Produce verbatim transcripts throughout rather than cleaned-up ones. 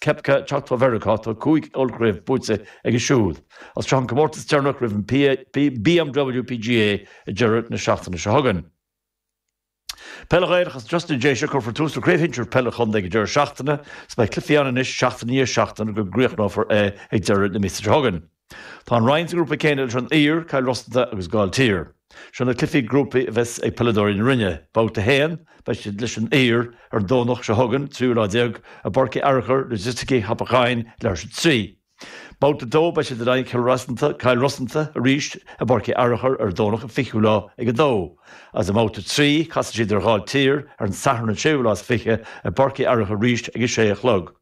Koepka teacht ó Mheiriceá tá cúig ollchraobh buaite aige siúd. Is seo an comórtas deireanach roimh an BMW P G A ag deireadh na seachtaine seo chugainn. Peile Ghaelach as Justin Déise cuirfear tús le craobh shinsir peile chontae ag deireadh seachtaine, 's beidh cluichí ann anois seachtain i ndiaidh seachtaine go gcríochnófar é ag deireadh na míosa seo chugainn. Tá an Rinn sa ngrúpa céanna leis an Uidhir, Cill Rosanta agus Gailltír. Seo na cluichí grúpa a bheas ag peileadóirí na Rinne. Babhta haon beidh siad leis an Uidhir ar an Domhnach seo chugainn tríú lá déag i bPáirc Uí Fhearchair Logistica Hapacháin leis trí. Babhta dó beidh siad in aghaidh Cill Rosanta Cill Rosanta arís i bPáirc Uí Fhearchair ar Domhnach an fichiú lá ag a dó. As i mbabhta trí casfaidh siad ar Ghailltír ar an Satharn an séú lá is fiche i bPáirc Uí Fhearchair arís ag a sé a chlog.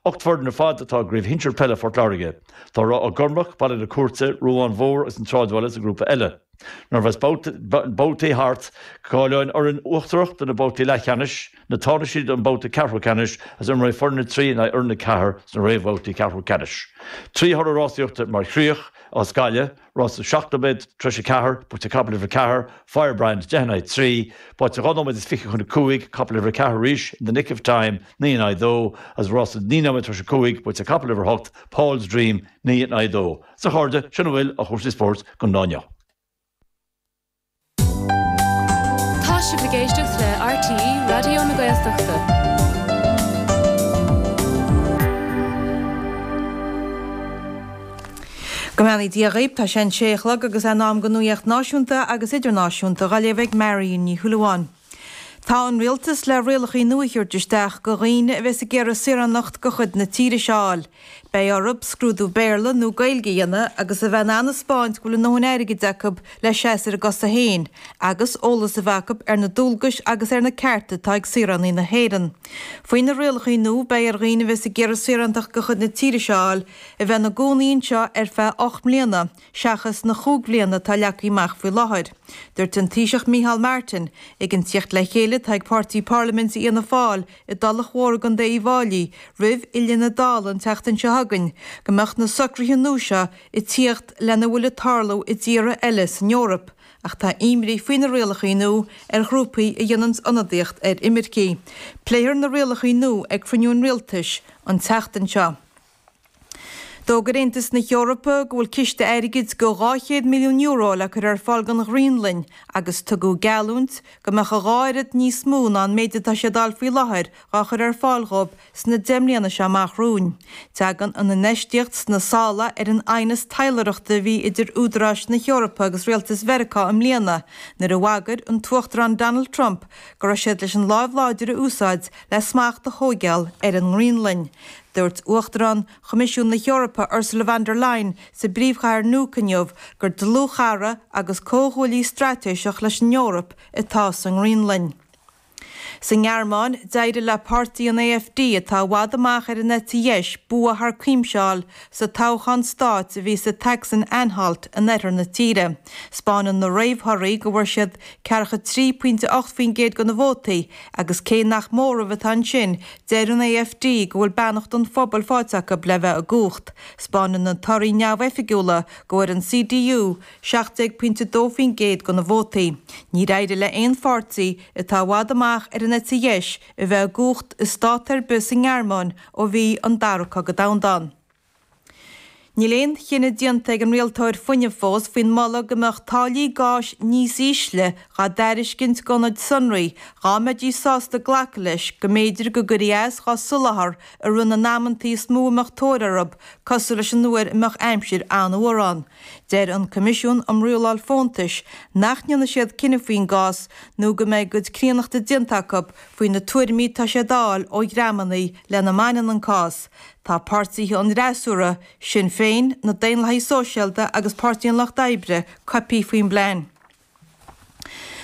Ocht bhfoireann ar fad atá i gcraobh shinsir peile Phort Láirge. Tá Ráth Gormach, Baile na Cúirte, Ruán Mhór agus an Sráidbhaile sa grúpa eile. Nuair a bheas babhtaí thart cáileoidh an fhoireann uachtarach do na babhtaí leathcheannais, na tánaistí don babhta ceathrú ceannais agus imreoidh foireann a trí in aghaidh fhoireann a ceathair sna réamhbhabhtaí ceathrú ceannais. Trí thoradh rásaíochta mar chríoch as Gaillimh, rása seacht nóiméad tar éis a ceathair, buaite capall uimhir ceathair, Firebrand deich in aghaidh trí, babhta dhá nóiméad is fiche chun a cúig, capall uimhir ceathair arís in the nick of time, naoi in aghaidh dó, agus rása naoi nóiméad tar éis a cúig, buaite capall uimhir hocht, Paul's Dream, naoi in aghaidh dó. Sa chairde sin a bhfuil ó chúrsaí spóirt don lá inniu. Tá sibh ag éisteacht le R T E Raidió na Gaeltachta. Go mbeannaí Dia dhaoibh, tá sé an sé a chlog agus in am don nuacht náisiúnta agus idirnáisiúnta á léamh ag Marion Ní Shúilleabháin. Tá an rialtas le rialacha nua a thabhairt isteach go dhaoine a bheas ag iarraidh saoránacht de chuid na tíre seo a fháil. Beidh orthu scrúdú Béarla nó Gaeilge a dhéanamh agus a bheith in ann a 'spáint go bhfuil a ndóthain airgid acu le seasamh ar a gcosa féin, agus eolas a bheith acu ar na dualgais agus ar na cearta atá ag saoránaigh na hÉireann. Faoi na rialacha nua beidh ar dhaoine a bheas ag iarraidh saorántacht de chuid na tíre seo a fháil a bheith ina gcónaí anseo ar feadh ocht mbliana, seachas na cúig bliana atá leagtha amach faoi láthair. Dúirt an Taoiseach Micheál Martin ag an tíocht le chéile atá ag páirtí parlaiminte Fhianna Fáil i dTulach Mhór i gContae Uíbh Fhailí roimh fhilleadh na Dála an tseachtain seo chugainn go mbeadh na socruithe nua seo ag tíocht lena bhfuil ag tarlú i dtíortha eile san Eoraip, ach tá imní faoi na rialacha nua ar ghrúpaí a dhéanann ionadaíocht ar imircigh. Pléifear na rialacha nua ag cruinniú an rialtais an tseachtain seo. D'fhógair Aontas na hEorpa go bhfuil ciste airgid go dhá chéad milliún euro le cur ar fáil don Ghraonlainn agus tugadh geallúint go mbeadh a dhá oiread níos mó ná an méid atá siad a fháil faoi láthair á chur ar fáil dhóibh sna deich mbliana seo amach romhainn. Tagann an infheistíocht sna sála ar an aighneas taidhleoireachta a bhí idir údaráis na hEorpa agus rialtas Mheiriceá i mbliana nuair a bhagair an tUachtarán Donald Trump go raibh siad leis an lámh láidir a úsáid le smacht a thógáil ar an nGraonlainn. Dúirt Uachtarán Choimisiún na hEorpa Ursula von der Leyen sa bpríomhchathair Nuuk inniu gur dlúthchara agus comhghuaillí straitéiseach leis an Eoraip atá sa nGraonlainn. Sa nGearmáin, d'éirigh le páirtí an A F D atá i bhfad amach ar an eite dheis bua thar cuimse a fháil sa toghchán stáit a bhí sa tSacsain-Anhalt in oirthear na tíre. 'Spáineann na réamhthorthaí go bhfuair siad ceathracha trí pointe ocht faoin gcéad de na vótaí agus cé nach móramh atá ansin, deir an A F D go bhfuil beannacht an phobail faighte acu le bheith i gcumhacht. 'Spáineann na torthaí neamhoifigiúla go bhfuair an C D U seacht déag pointe dó faoin gcéad de na vótaí. Níor éirigh le aon pháirtí atá i bhfad amach ar an eite dheis a bheith i gcumhacht i stát ar bith sa nGearmáin ó bhí an Dara Cogadh Domhanda ann. Níl aon chinneadh déanta ag an rialtóir fuinnimh fós faoin moladh go mbeadh táillí gáis níos ísle dhá dtairiscint d'ionaid sonraí dhá mbeidís sásta glacadh leis go mb'fhéidir go gcuirfí as dhá soláthar i rith na n-amantaí is mó a mbeadh tóir orthu, cosúil leis an uair a mbeadh aimsir an-fhuar ann. Deir an Coimisiún um Rialáil Fóntais nach ndéanfaidh siad cinneadh faoin gcás nó go mbeidh a gcuid críonnachta déanta acu faoi na tuairimí atá siad a fháil ó dhreamanna lena mbaineann an cás. Tá páirtithe an fhreasúra, Sinn Féin, na Daonlathaigh Sóisialta agus Páirtí an Lucht Oibre coipthe faoin bplean.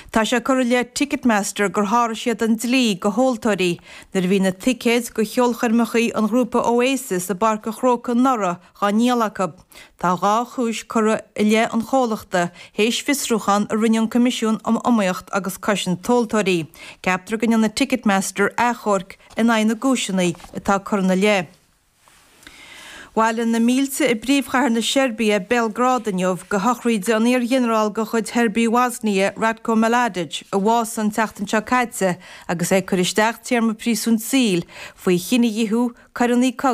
Tá sé curtha i leith Ticketmaster gur sháraigh siad an dlí go thomhaltóirí nuair a bhí na ticéid go cheolchoirmeacha an ghrúpa Oasis i bPáirc an Chrócaigh anuraidh dhá ndíol acu. Tá dhá chúis curtha i leith an chomhlachta théis fiosrúchán a rinne an Coimisiún um Iomaíocht agus Cosaint Tomhaltóirí. Ceaptar go ndéanfaidh Ticketmaster achomharc in aghaidh na gcúiseanna atá curtha ina leith. Bhailigh na mílte i bpríomhchathair na Seirbia, Béalgrád inniu go shochraíde an iar-ghinearál de chuid Sheirbia Bhoisnia, Ratko Mladic, a bhásaigh an tseachtain seo caite agus é ag cur isteach téarma príosúin saoil faoi chinedhíothú, coireanna cogaidh.